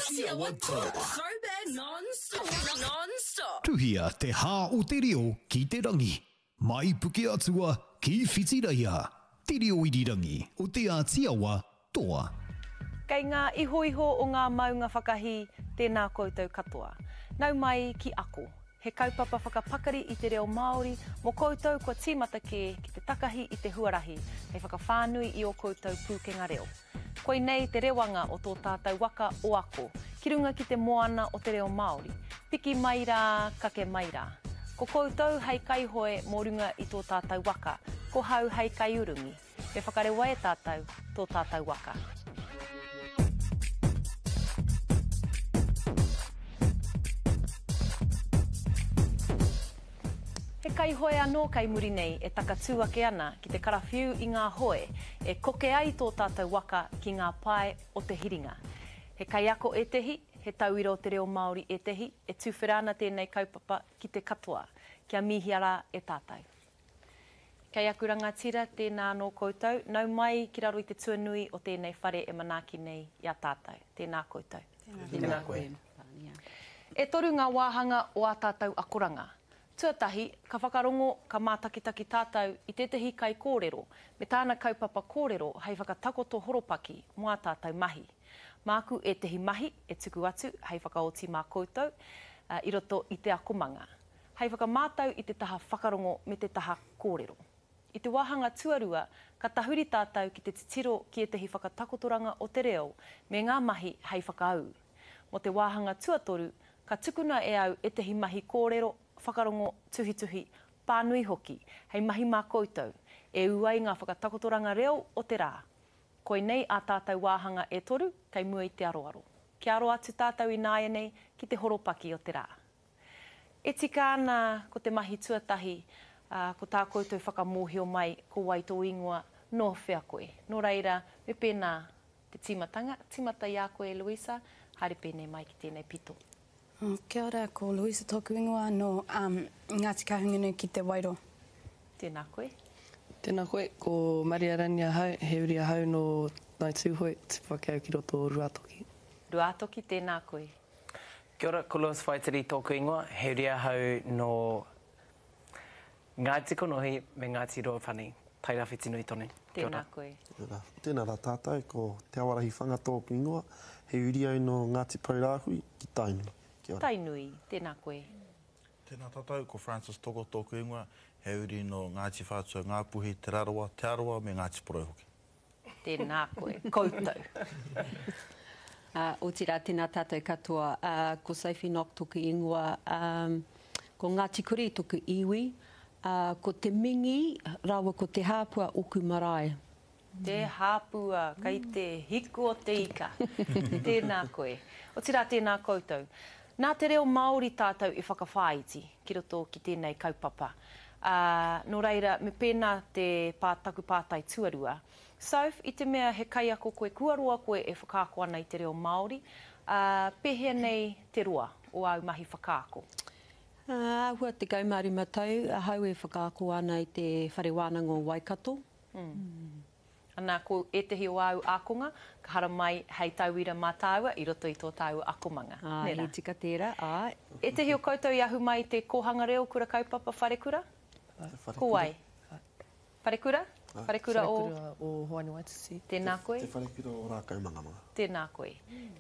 Ātiawa Toa. Throwback non-stop. Tuhia te hā o te reo ki te rangi. Mai Pukeatua ki Whitireia. Te reo irirangi o Te Ātiawa Toa. Kei ngā ihoiho o ngā maunga whakahī, tēnā koutou katoa. Nau mai ki Ako, he kaupapa whakapakari i te reo Māori mō koutou kua tīmata kē ki te takahi i te huarahi hei whakawhānui i ō koutou pūkenga reo. Koinei te rewanga o tō tātou waka o Ako, ki runga ki te moana o te reo Māori. Piki mai rā, kake mai rā. Ko koutou hei kaihoe mō runga i tō tātou waka, ko hau hei kaiurungi. Me whakarewa e tātou tō tātou waka. He kaihoe anō kei muri nei e takatū ake ana ki te karawhiu i ngā hoe e koke ai tō tātou waka ki ngā pae o te hiringa. He kaiako ētehi, he tauira o te reo Māori ētehi, e tuwhera ana tēnei kaupapa ki te katoa, kia mihia rā e tātou. Kei aku rangatira, tēnā anō koutou, nau mai ki raro i te tuanui o tēnei whare e manaaki nei i a tātou. Tēnā koutou. Tēnā koe. E toru ngā wāhanga o ā tātou akoranga. Tuatahi, ka whakarongo, ka mātakitaki tātou i tētahi kaikōrero me tāna kaupapa kōrero hei whakatakoto horopaki mō ā tātou mahi. Māku ētahi mahi e tuku atu hei whakaoti mā koutou i roto i te akomanga. Hei whakamātau i te taha whakarongo me te taha kōrero. I te wāhanga tuarua, ka tahuri tātou ki te titiro ki ētahi whakatakotoranga o te reo me ngā mahi hei whakaū. Mō te wāhanga tuatoru, ka tukuna e au ētahi mahi kōrero, whakarongo, tuhituhi, pānui hoki, hei mahi mā koutou, e ū ai ngā whakatakotoranga reo o te rā. Koinei ā tātou wāhanga e toru kei mua i te aroaro. Kia aro atu tātou ināianei ki te horopaki o te rā. E tika ana ko te mahi tuatahi, ā, ko tā koutou whakamōhio mai ko wai tō ingoa, nō whea koe. Nō reira, me pēnā te tīmatanga, tīmata i a koe Louisa, haere pēnei mai ki tēnei pito. Kia ora, ko Louisa tōku ingoa, nō Ngāti Kahungunu ki Te Wairo. Tēnā koe. Tēnā koe, ko Maria Rangi ahau, he uri ahau nō Ngāi Tūhoe, tupu ake au ki roto o Ruātoki. Ruātoki, tēnā koe. Kia ora, ko Lewis Whaitiri tōku ingoa, he uri ahau nō Ngāti Konohi me Ngāti Ruapani, Tairāwhiti nui tonu. Kia ora. Tēnā koe. Kia ora. Tēnā rā tātou, ko Te Awarahi Whanga tōku ingoa, he uri au nō Ngāti Pourāhui ki Tainui. Kia ora. Tainui, tēnā koe. Tēnā tātou, ko Francis Toko tōku ingoa, he uri nō Ngāti Whātua, Ngāpuhi, Te Rarawa, Te Arawa me Ngāti Porou hoki. Tēnā koe, koutou. Ā, otirā, tēnā tātou katoa. Ā, ko Sophie Nock toku ingoa, ā, ko Ngāti Kuri toku iwi, ā, ko Te Mingi rāua ko Te Hāpua oku marae. Te Hāpua, kei te hiku o te ika. Tēnā koe. Otirā, tēnā koutou. Nā te reo Māori tātou i whakawhāiti ki roto ki tēnei kaupapa. Ā, nō reira, me pēnā te pā, taku pātai tuarua. Soph, i te mea he kaiako koe, kua roa koe e whakaako ana i te reo Māori, ā, pēhea nei te roa o āu mahi whakaako? Ā, āhua 15 tau ahau e whakaako ana i te Whare Wānanga o Waikato. Ana, ko ētehi o āu ākonga, ka haramai hei tauira mā tāua i roto i tō tāua akomanga, nē rā? Āe, he tika tērā, āe. Ētehi o koutou i ahu mai i te kōhanga reo, kura kaupapa, wharekura? Ko wai? Wharekura? Wharekura o? Wharekura o Hoani Waititi. Tēnā koe. Te wharekura o Rākaumangamanga. Tēnā koe.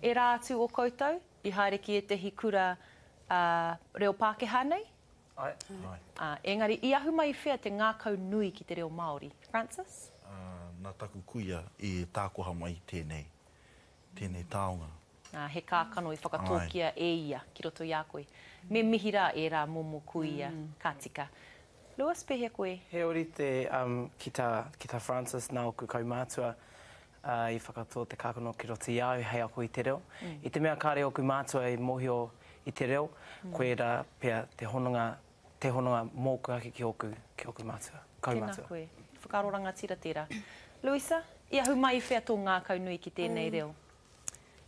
Ērā atu o koutou i haere ki ētehi kura reo Pākehā nei? Āe. Āe. Ā, engari, i ahu mai i whea te ngākau nui ki te reo Māori? Francis? Ā, nā taku kuia i tākoha mai tēnei, tēnei taonga. Ā, he kākano i whakatōkia e ia ki roto i a koe. Me mihi rā ērā momo kuia, ka tika. Lewis, pēhea koe? He ōrite ki tā, ki tā Francis, nā ōku kaumātua i whakatō te kākano ki roto i a au hei ako i te reo. I te mea kāre ōku mātua i mōhio i te reo, koirā pea te hononga, te hononga mōku ake ki ōku, ki ōku mātua, kaumātua. Tēnā koe. Whakaaro rangatira tērā. Louisa, i ahu mai i whea tō ngākau nui ki tēnei reo?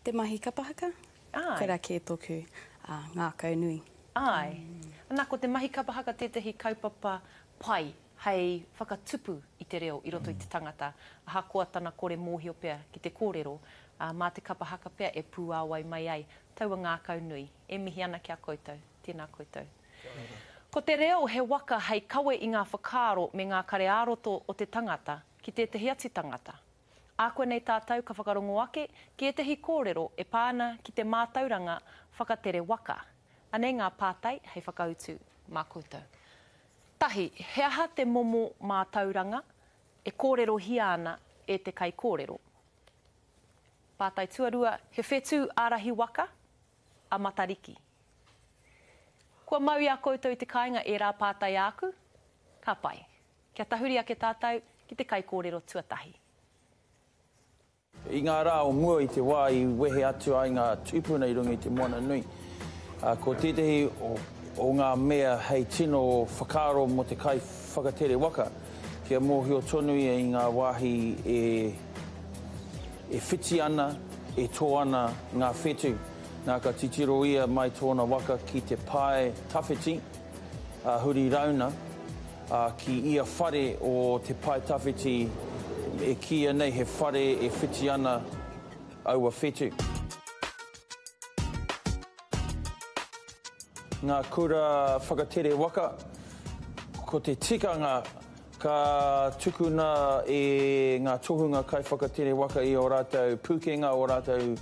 Te mahi kapa haka. Āe. Koirā kē tōku ngākau nui. Āe. Ana, ko te mahi kapa haka tētahi kaupapa pai hei whakatupu i te reo i roto i te tangata, ahakoa tana kore mōhio pea ki te kōrero. Ā, mā te kapa haka pea e pūāwai mai ai taua ngākau nui. E mihi ana ki a koutou. Tēnā koutou. Ko te reo he waka hei kawe i ngā whakaaro me ngā kare ā-roto o te tangata ki tētahi atu tangata. Ākuanei tātou ka whakarongo ake ki ētahi kōrero e pā ana ki te mātauranga whakatere waka. Anei ngā pātai hei whakautu mā koutou. Tahi, he aha te momo mātauranga e kōrerohia ana e te kaikōrero? Pātai tuarua, he whetū ārahi waka a Matariki. Kua mau i a koutou i te kāinga ērā pātai āku? Ka pai. Kia tahuri ake tātou ki te kaikōrero tuatahi. I ngā rā o mua i te wā i wehe atu ai ngā tūpuna i runga i te moana nui, ko tētehi o ngā mea hei tino whakaaro mō te kaiwhakatere waka, kia mōhio tonu ia i ngā wāhi e e whiti ana, e tō ana ngā whetū. Nā, ka titiro ia mai tōna waka ki te pae tawhiti, ā, huri rauna, ā, ki ia whare o te pae tawhiti e kīia nei he whare e whiti ana aua whetū. Ngā kura whakatere waka, ko te tikanga Ka tukuna e ngā tohunga kaiwhakatere waka i ō rātou pūkenga, ō rātou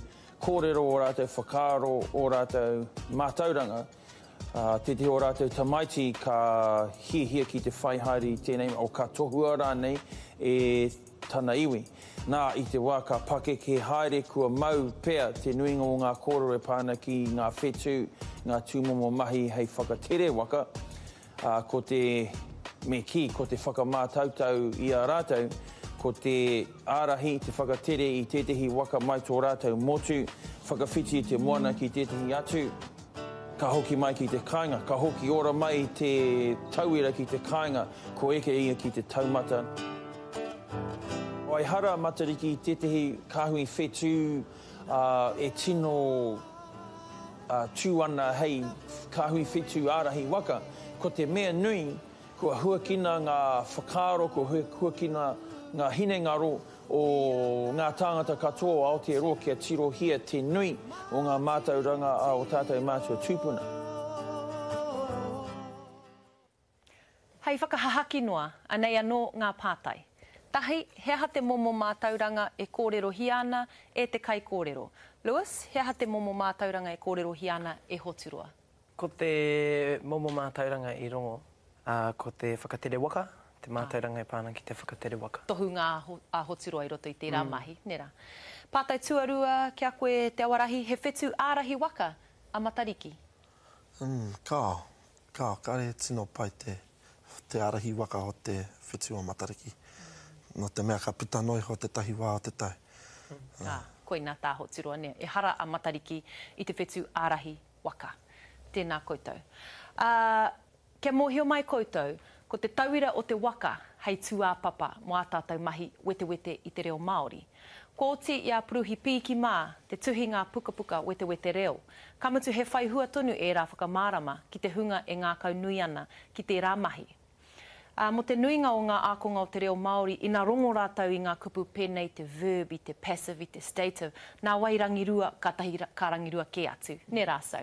kōrero, ō rātou whakaaro, ō rātou mātauranga. Tētehi o rātou tamaiti ka hiahia ki te whai haere i tēnei, o ka tohua rānei e tana iwi. Nā, i te wā ka pakeke haere kua mau pea te nuinga o ngā kōrero e pā ana ki ngā whetū, ngā tūmomo mahi hei whakatere waka, Ā, ko te, me kī, ko te whakamātautau i a rātou, ko te ārahi, te whakatere i tētehi waka mai tō rātou motu, whakawhiti i te moana ki tētehi atu, ka hoki mai ki te kāinga, ka hoki ora mai te tauira ki te kāinga, ko eke ia ki te taumata. Ehara a Matariki i tētehi kāhui whetū, ā, e tino tū ana hei kāhui whetū ārahi waka, ko te mea nui, kua huakina ngā whakaaro, kua huakina ngā hinengaro o ngā tāngata katoa o Aotearoa kia tirohia te nui o ngā mātauranga a ō tātou mātua tūpuna. Hei whakahahaki noa, anei anō ngā pātai. Tahi, he aha te momo mātauranga e kōrerohia ana e te kaikōrero? Lewis, he aha te momo mātauranga e kōrerohia ana e Hoturoa? Ko te momo mātauranga i rongo, ko te whakatere waka, te mātauranga e pā ana ki te whakatere waka. Tohunga a Hoturoa i roto i tērā mahi, nē rā. Pātai tuarua ki a koe Te Awarahi, he whetū ārahi waka a Matariki? Umm, kāo. Ka kare e tino pai te te arahi waka o te whetu o Matariki. No te mea ka puta noa iho tetahi wa o te tau. Ā, koinā tā Hoturoa nē, ehara a Matariki i te whetū ārahi waka. Tēnā koutou. Ā, kia mōhio mai koutou, ko te tauira o te waka hei tūāpapa mō ā tātou mahi wetewete i te reo Māori. Kua oti i a Puruhi Piiki mā te tuhi ngā pukapuka wetewete reo, ka mutu he whai hua tonu ērā whakamārama ki te hunga e ngākaunui ana ki tērā mahi. Ā, mō te nuinga o ngā ākonga o te reo Māori, ina rongo rātou i ngā kupu pēnei te verb, i te passive, i te stative, nā wai rangirua, kātahi ka rangirua kē atu, nē rā so.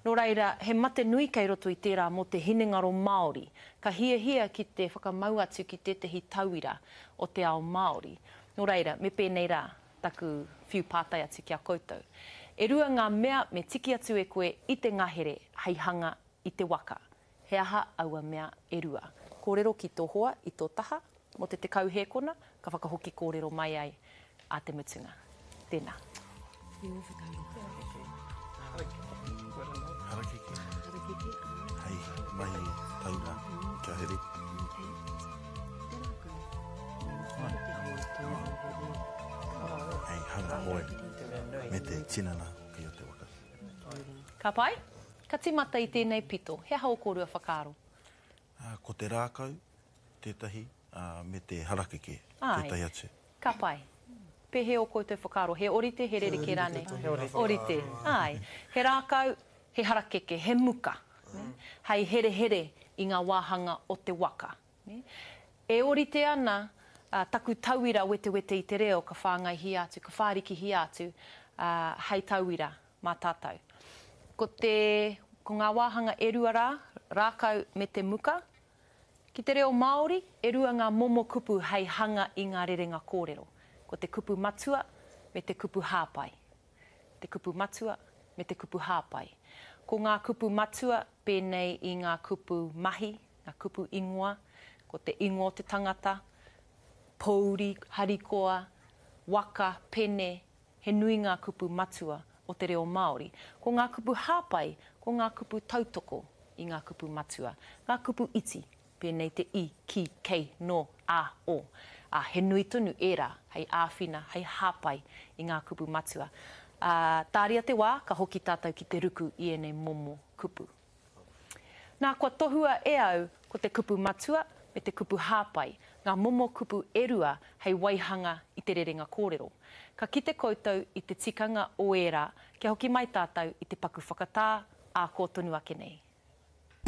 Nō reira, he mate nui kei roto i tērā mō te hinengaro Māori, ka hiahia ki te whakamau atu ki tētahi tauira o te ao Māori. Nō reira, me pēnei rā taku whiu pātai atu ki a koutou. E rua ngā mea me tiki atu e koe i te ngahere hei hanga i te waka. He aha aua mea e rua? Kōrero ki tō hoa i tō taha mō te 10 hēkona, ka whakahoki kōrero mai ai ā te mutunga. Tēnā. Harakeke. Hei mahi taura kia here. Hei hanga hoe me te tinana hoki o te waka. Ka pai? Ka timata i tēnei pito. He aha ō kōrua whakaaro? Ko te rākau tētahi, me te harakeke tētahi atu. Ka pai. Pēhea ō koutou whakaaro? He orite, he rerekē rānei? He orite. Orite, āe. He rākau, he harakeke, he muka, hei herehere i ngā wāhanga o te waka. E orite ana Ā, taku tauira wetewete i te reo ka whāngaihia atu, ka whārikihia atu, ā, hei tauira mā tātou. Ko te, ko ngā wāhanga e rua rā, rākau me te muka. Ki te reo Māori, e rua ngā momo kupu hei hanga i ngā rerenga kōrero. Ko te kupu matua me te kupu hāpai. Te kupu matua me te kupu hāpai. Ko ngā kupu matua pēnei i ngā kupu mahi, ngā kupu ingoa, ko te ingoa o te tangata, pōuri, harikoa, waka, pene, he nui ngā kupu matua o te reo Māori. Ko ngā kupu hāpai, ko ngā kupu tautoko i ngā kupu matua, ngā kupu iti, pēnei te i, ki, kei, nō, ā, o. Ā, he nui tonu ērā hei āwhina, hei hāpai i ngā kupu matua. Ā, tāria te wā, ka hoki tātou ki te ruku i ēnei momo kupu. Nā, kua tohua e au ko te kupu matua me te kupu hāpai, ngā momo kupu e rua hei waihanga i te rerenga kōrero. Ka kite koutou i te tikanga o ērā kia hoki mai tātou i te paku whakatā ā kō tonu ake nei.